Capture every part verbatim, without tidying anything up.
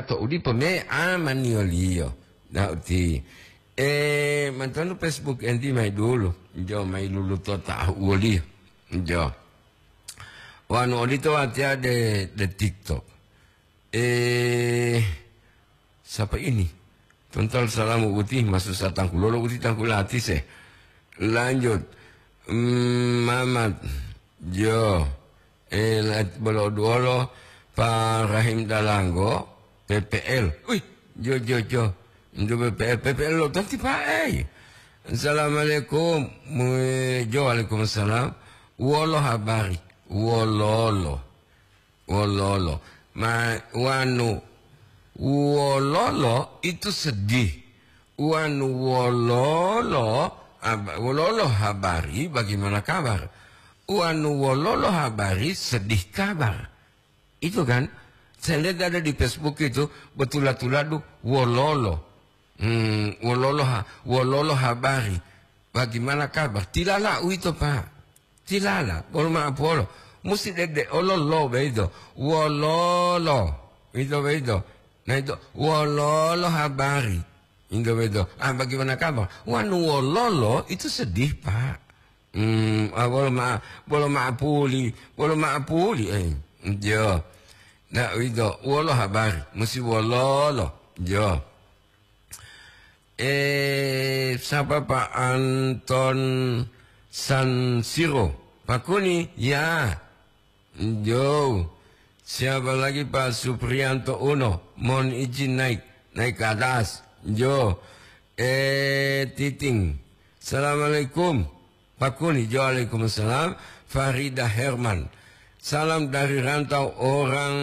to udipo me amaniyoliyo. Nah, uti, eh, mantonu Facebook enti mai dulu. Jo, mai luluto tahu woliyo. Jo. Wanu odito watiya de, de TikTok. Eh, siapa ini? Tontal salamu uti, masu satangkulolo uti tangkulatise. Lanjut. Mm, Mamat. Jo. Eh, la-, bolo duolo, Pak Rahim Dalanggo, P P L. Wih, jo, jo, jo. Ndu P P L, P P L lo tanti Pak, eh. Assalamualaikum. Mu-, jo, waalaikumsalam. Wolo habari. Wololo. Wololo. Ma-, wanu, wololo itu sedih. Wanu wololo, ab-, wololo habari, bagaimana kabar? Wanu wololo habari, sedih kabar. Itu kan, saya lihat ada di Facebook itu, betula-tuladu wololo. Hmm, wololo ha-, wololo habari. Bagaimana kabar? Tilala uwito, Pak. Tilala, bolo ma'apolo. Musi dede olo lo beito. Wololo. Ito beito. Nah, itu wololo habari. Ito beito. Ah, bagaimana kabar? Wanu wololo itu sedih, Pak. Hmm, ah, bolo ma-, bolo ma'apuli, bolo ma'apuli, eh. Yo. Nah, itu wolo habari. Musi wololo. Yo. Eh, siapa Pak Anton Sansiro? Pak Kuni, ya. Jo. Siapa lagi Pak Suprianto Uno? Mohon izin naik, naik ke atas. Jo. Eh, Titing. Assalamualaikum. Pak Kuni, jo, waalaikumsalam. Farida Herman. Salam dari rantau orang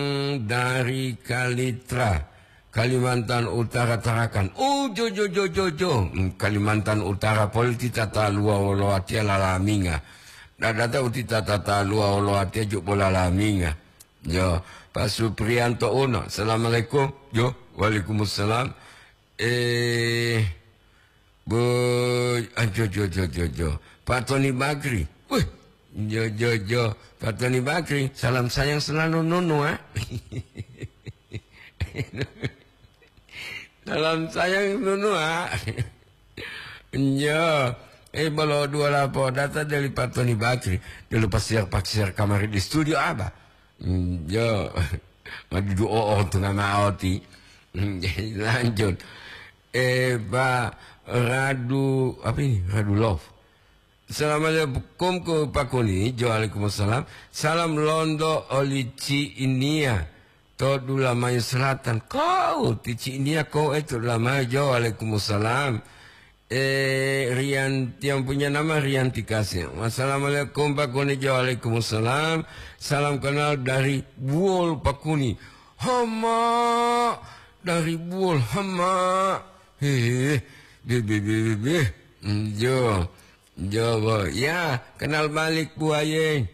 dari Kalitra, Kalimantan Utara, Tarakan. Oh, jo, jo, jo, jo, jo. Hmm, Kalimantan Utara poli ti tataluwa wolo watiya lalaminga. Dadata uti tataluwa wolo watiya jubo lalaminga. Jo, Pak Suprianto Uno. Assalamualaikum. Jo, waalaikumsalam. Eh, boy, ah, jo, jo, jo, jo, jo. Pak Tony Bakri. Wih, jo, jo, jo. Pak Tony Bakri, salam sayang selalu nunu, ah. Salam sayang nunu, ah. Jo, eh, bolo dua lapo data dari Pak Tony Bakri. Dulu pasir paksir kamari di studio apa? Hmm, yo, madudu o'o tunga ma'o ti. Hmm, lanjut. Eh, Pak Radu, apa ini? Radu Love. Assalamualaikum ko Pak Kuni. Jo, waalaikumsalam. Salam londo oli Ci Inia to Dulamayu Selatan. Kau ti Ci Inia kau, eh, to Dulamayu. Jo, waalaikumsalam. Eh, Rian, yang punya nama Rianti Kasih. Wassalamualaikum, Pak Kuni. Jo, waalaikumsalam. Salam kenal dari Buol, Pak Kuni. Hama, dari Buol, Hama. Hehe, be, be, be, be, be. Hmm, jo, jo, bo. Ya, kenal balik, Bu Aye.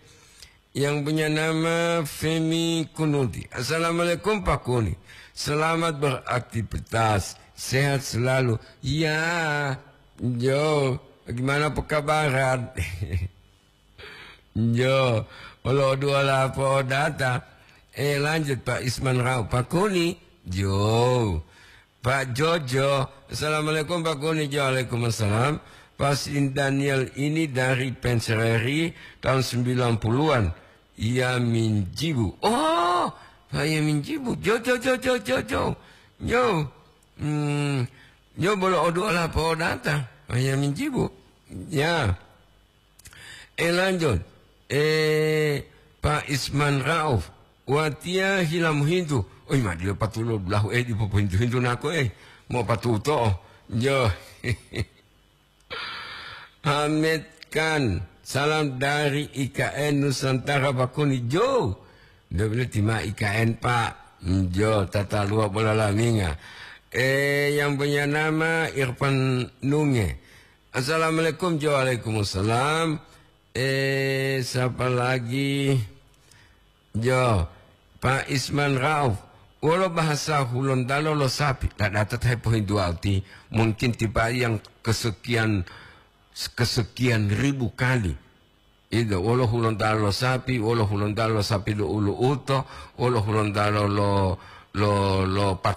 Yang punya nama Femi Kunuti. Assalamualaikum, Pak Kuni. Selamat beraktivitas. Sehat selalu. Ya, jo, bagaimana pekabaran? Jo, olo dua lapo data. Eh, lanjut, Pak Isman Rau. Pak Kuni. Jo. Pak Jojo, assalamualaikum Pak Kuni. Jo, waalaikumsalam. Pak Sin Daniel ini dari Pensereri tahun sembilan puluhan. Iya Minjibu. Oh, Pak Iya Minjibu. Jo, jo, jo, jo, jo, jo. Jo. Hmm, jo bolo odu ola po data. Pak Iya Minjibu. Ya. Eh, lanjut. Eh, Pak Isman Rauf, watiya hila mohintu. Oi, ma dila patulo dulahu, eh, dipo pohintu-hintu nako, eh. Mo patuto. Jo. Hamed Khan, salam dari I K N Nusantara Pak Kuni. Jo. Dia bilang, "Tima I K N, Pak." Jo, tatalua bola laminga. Eh, yang punya nama Irfan Nunge. Assalamualaikum, jo, waalaikumsalam. Eh, siapa lagi? Jo, Pak Isman Rauf. Wolo bahasa Hulontalo lo sapi. Tidak datat hai pohintuwa uti. Mungkin tipe yang kesekian, kesekian ribu kali. Ito, wolo Hulontalo lo sapi, wolo Hulontalo lo sapi lo ulu uto, wolo Hulontalo lo, lo, lo pat